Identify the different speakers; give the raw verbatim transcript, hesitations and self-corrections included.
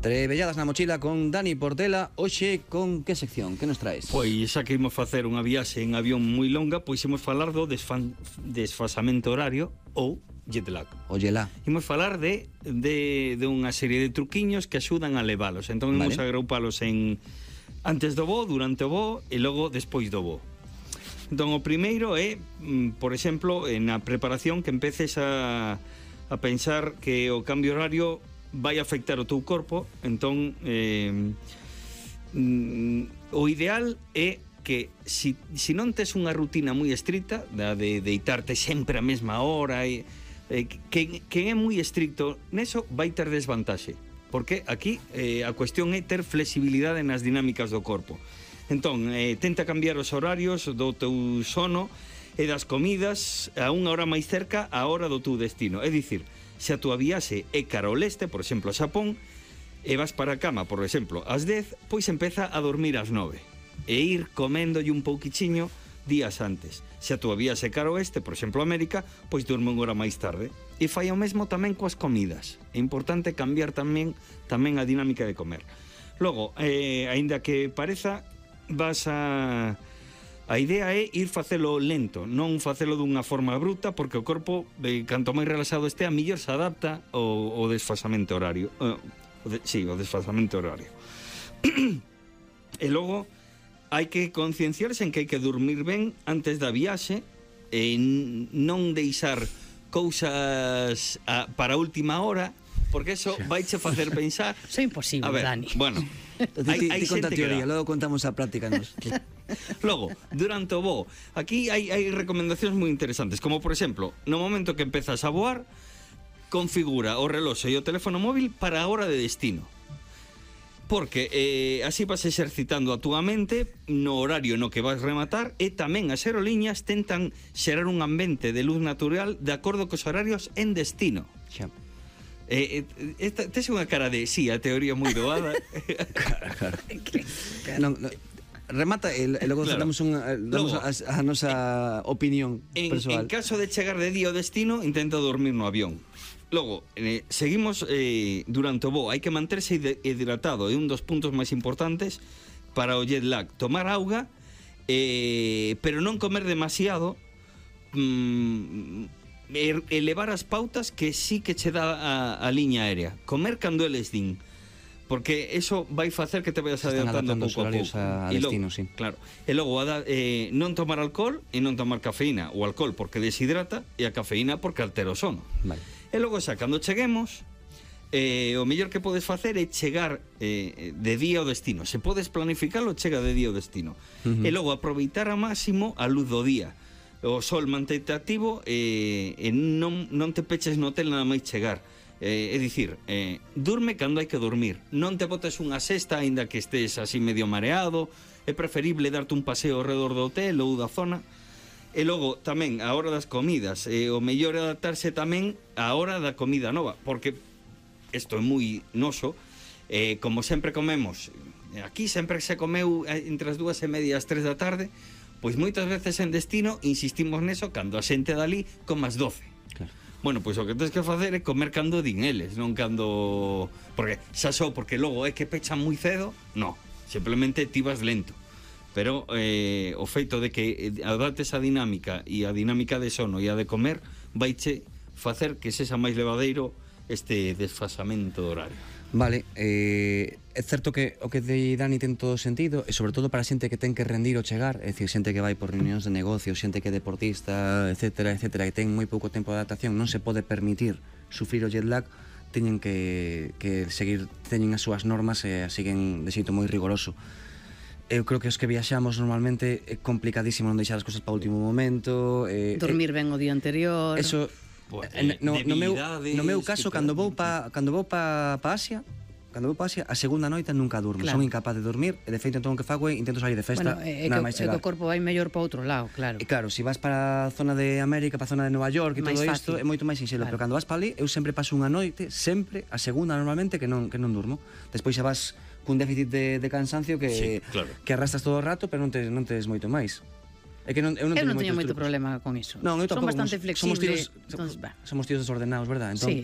Speaker 1: Trebelladas na mochila con Dani Portela. Hoxe con que sección? Que nos traes?
Speaker 2: Pois xa que imos facer unha viaxe en avión moi longa, pois imos falar do desfan, desfasamento horario ou jet lag.
Speaker 1: Óyela.
Speaker 2: Imos falar de, de, de unha serie de truquiños que axudan a levalos. Entón imos
Speaker 1: vale.
Speaker 2: agrupalos en antes do voo, durante o voo e logo despois do voo. Entón o primeiro é, por exemplo, na preparación que empeces a, a pensar que o cambio horario vai afectar o teu corpo. Entón eh, mm, o ideal é que si, si non tes unha rutina moi estricta da de deitarte sempre a mesma hora e, eh, que, que é moi estricto neso vai ter desvantaxe, porque aquí eh, a cuestión é ter flexibilidade nas dinámicas do corpo. Entón, eh, tenta cambiar os horarios do teu sono e das comidas a unha hora máis cerca á hora do teu destino. É dicir, se a tua viaxe é cara ao leste, por exemplo, a Xapón, e vas para a cama, por exemplo, ás dez, pois empeza a dormir ás nove e ir coméndolle un pouquichiño días antes. Se a tua viaxe é cara ao oeste, por exemplo, América, pois durme unha hora máis tarde. E fai o mesmo tamén coas comidas. É importante cambiar tamén tamén a dinámica de comer. Logo, eh, aínda que pareza, vas a... A idea é ir facelo lento, non facelo dunha forma bruta, porque o corpo, eh, canto máis relaxado este, a mellor se adapta ao, ao desfasamento horario. Uh, o de, sí, o desfasamento horario. E logo, hai que concienciarse en que hai que dormir ben antes da viaxe e non deixar cousas a, para a última hora, porque eso vaiche facer pensar...
Speaker 3: Eso é imposible,
Speaker 2: a ver,
Speaker 3: Dani.
Speaker 2: Bueno,
Speaker 1: Ti, ti, ti conta a teoría, logo contamos a práctica nos.
Speaker 2: Logo, durante o voo, aquí hai, hai recomendacións moi interesantes, como por exemplo, no momento que empezas a voar, configura o reloxo e o teléfono móvil para a hora de destino, porque eh, así vas exercitando a túa mente no horario no que vas rematar, e tamén as aerolíneas tentan xerar un ambiente de luz natural de acordo cos horarios en destino.
Speaker 1: Xa.
Speaker 2: Eh, eh, esta, tes unha cara de sí, a teoría moi doada.
Speaker 1: Claro, claro. Non, non, remata e, e logo
Speaker 2: claro.
Speaker 1: damos, unha, damos
Speaker 2: Logo,
Speaker 1: a, a nosa opinión
Speaker 2: en,
Speaker 1: persoal.
Speaker 2: En caso de chegar de día ao destino, intenta dormir no avión. Logo, eh, seguimos eh, durante o voo. Hai que manterse hidratado, é un dos puntos máis importantes para o jet lag. Tomar auga, eh, pero non comer demasiado, mm, elevar as pautas que sí que che dá a, a liña aérea. Comer cando eles din, porque eso vai facer que te vayas adaptando pouco a pouco.
Speaker 1: A, a destino, logo, sí.
Speaker 2: Claro. E logo eh, non tomar alcohol e non tomar cafeína. O alcohol porque deshidrata e a cafeína porque altera o sono.
Speaker 1: Vale.
Speaker 2: E logo xa, cando cheguemos, eh, o mellor que podes facer é chegar eh, de día ao destino. Se podes planificalo, chega de día ao destino. Uh-huh. E logo aproveitar a máximo a luz do día. O sol mantente activo e, e non, non te peches no hotel nada máis chegar. Eh, é dicir, eh, durme cando hai que dormir. Non te botes unha sesta, aínda que estés así medio mareado. É preferible darte un paseo ao redor do hotel ou da zona. E logo, tamén, a hora das comidas. Eh, o mellor é adaptarse tamén á hora da comida nova, porque isto é moi noso. Eh, como sempre comemos, aquí sempre se comeu entre as dúas e media e as tres da tarde, pois moitas veces en destino insistimos neso cando a xente dali como as doce. Claro. Bueno, pois o que tens que facer é comer cando din eles, non cando... Porque xa só porque logo é que pechan moi cedo, no, simplemente ti vas lento. Pero eh, o feito de que adaptes a dinámica e a dinámica de sono e a de comer vaiche facer que sexa máis levadeiro este desfasamento horario.
Speaker 1: Vale, eh, é certo que o que de Dani ten todo sentido, e sobre todo para a xente que ten que rendir ao chegar, é dicir, xente que vai por reunións de negocio, xente que é deportista, etcétera, etcétera, que ten moi pouco tempo de adaptación, non se pode permitir sufrir o jet lag, teñen que, que seguir, teñen as súas normas e as siguen de xeito moi rigoroso. Eu creo que os que viaxamos normalmente é complicadísimo non deixar as cousas para o último momento. Eh,
Speaker 3: Dormir ben o día anterior.
Speaker 1: Eso...
Speaker 2: Pues,
Speaker 1: eh, no, no, meu, no meu caso,
Speaker 2: que
Speaker 1: cando vou pa, cando vou pa, pa Asia, cando vou pa Asia, a segunda noite nunca durmo, claro. Son incapaz de dormir, e de feito entón o que fago é intento sair de festa,
Speaker 3: bueno, é
Speaker 1: nada
Speaker 3: que,
Speaker 1: máis chegar.
Speaker 3: É que o corpo vai mellor para outro lado, claro.
Speaker 1: E claro, se vas para a zona de América, para a zona de Nova York e todo isto, é moito máis sinxelo,
Speaker 3: claro.
Speaker 1: Pero cando vas para ali, eu sempre paso unha noite, sempre, a segunda normalmente, que non, que non durmo. Despois xa vas cun déficit de, de cansancio que,
Speaker 2: sí, claro.
Speaker 1: que arrastras todo o rato, pero non tes, non tes moito máis. É que non, eu non,
Speaker 3: eu non teño
Speaker 1: moito
Speaker 3: problema con iso.
Speaker 1: Non, eu
Speaker 3: Son
Speaker 1: tampouco,
Speaker 3: bastante
Speaker 1: somos
Speaker 3: flexible.
Speaker 1: tíos,
Speaker 3: Entonces,
Speaker 1: somos tíos desordenados, verdad? Entón,
Speaker 3: sí,